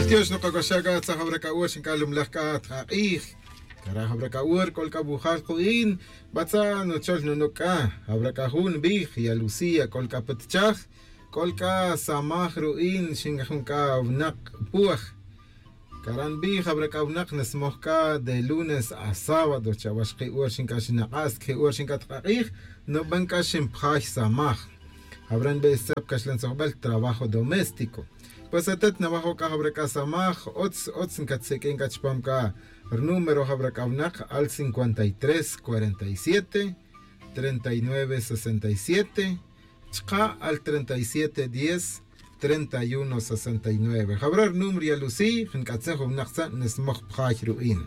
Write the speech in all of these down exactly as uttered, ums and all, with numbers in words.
Tiox nokac'axaj c'a tzaj jawra c'a ur xinc'a lumlaj c'a tk'ak'ij. Cara' jawra c'a ur c'ol c'a wujal ku'in. Batza' nuchol nunuc' c'a jawra c'a jun nbij ya lucía c'ol c'a putchaj. C'ol c'a samaj ru'in xin jun c'a winak puaj. Cara' nbij jawra c'a winak nsmoj c'a de lunes a sábado chawa xki' ur xinc'a xinak'as xki' ur xinc'a tk'ak'ij. Nuban c'a xinpjay samaj. Jawra nbij stzep caxlan tzojbel trabajo doméstico. Pues atet nawajo' c'a jawra c'a samaj utz utz ncatseq'uin c'a chupam c'a. Rnúmero jawra c'a winak al cincuenta y tres cuarenta y siete treinta y nueve sesenta y siete. Chka' al treinta y siete diez treinta y uno sesenta y nueve jawra rnúmero ya lucí jun c'atzin jun winak tza' nsmoj pjay ru'in.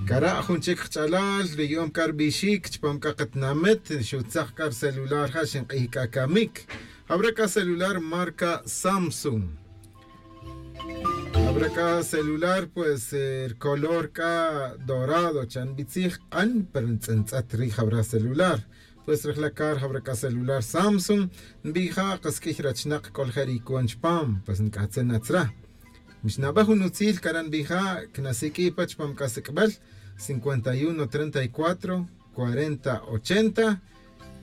Cara' jun chic kach'alal ri yu'um c'a rbixic chupam c'a katinamit xutzak c'a rcelular ja xink'ij c'a camic. Jawra c'a celular marca samsung. Jawra c'a celular pues rcolor c'a dorado cha' nbitzij k'an pero ntz'entz'et ri jawra celular. Pues rejla' car jawra c'a celular samsung. Nbija' kas q'uij rachinak c'ol je' ri cuon chupam pues nc'atzin atzra. Mixnabej jun utzil cara' nbija' cnasiq'ui' pa chupam c'a sic'bel cincuenta y uno treinta y cuatro cuarenta ochenta.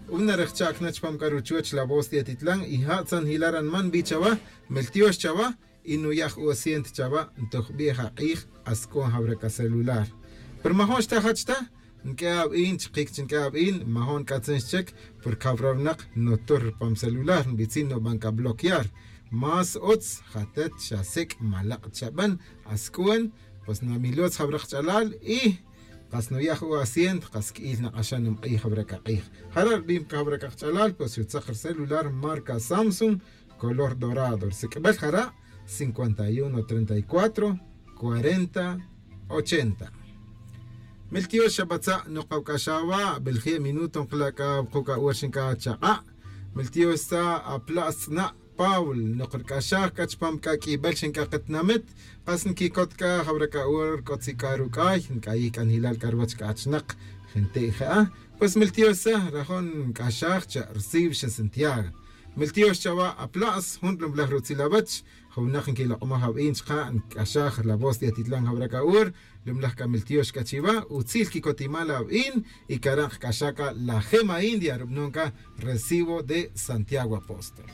Una rejcha'c na chupam c'a ruchuoch la voz de atitlan y ja' tzan jila' ranman nbi chawa. Miltiox chawa y nuya' ju'o asiento chawa ntojbej ak'ij. Asc'on jawra c'a celular pero majo'n xta jach ta. Nq'ue awi'in chikic chi nq'ue awi'in majo'n c'atzin xchic. Porque jawra winak nutur rupam celular nbitzin nuban c'a bloquear. Más utz jatet xasic' malak' chaban. Asc'on pues namilotz jawra kach'alal y kas nuya' ju'o asiento kas q'uiy nak'axan numk'ij jawra c'a k'ij. Jara' rubim c'a jawra c'a kach'alal pues xutzak rcelular marca samsung color dorado rsic'bel jara' cincuenta y uno treinta y cuatro cuarenta ochenta. Miltiox xabatza' nokawc'axaj wa' belje' minuto nkala' c'a wuku' c'a ur xinc'a chak'a'. Miltiox tza apla' stz'na' paul nokrc'axaj c'a chupam c'a q'uibel xinc'a katinamit. Kas nquicot c'a jawra c'a ur c'o tzic'a ruc'ay nc'ayij c'a njilal c'a ruwech c'a achinak. Jente' je'a pues miltiox tza rajon nc'axaj cha' rsiw xa santiago. Miltiox chawa' apla'as jun lumlaj rutzil awech. Jawnak nquilok'omaj awi'in chka' nc'axaj la voz de atitlan jawra c'a ur. Lumlaj c'a miltiox c'a chiwa' utzil quicotimal awi'in. Y cara' nkc'axaj c'a la gema india rubanon c'a recibo de santiago apóstol.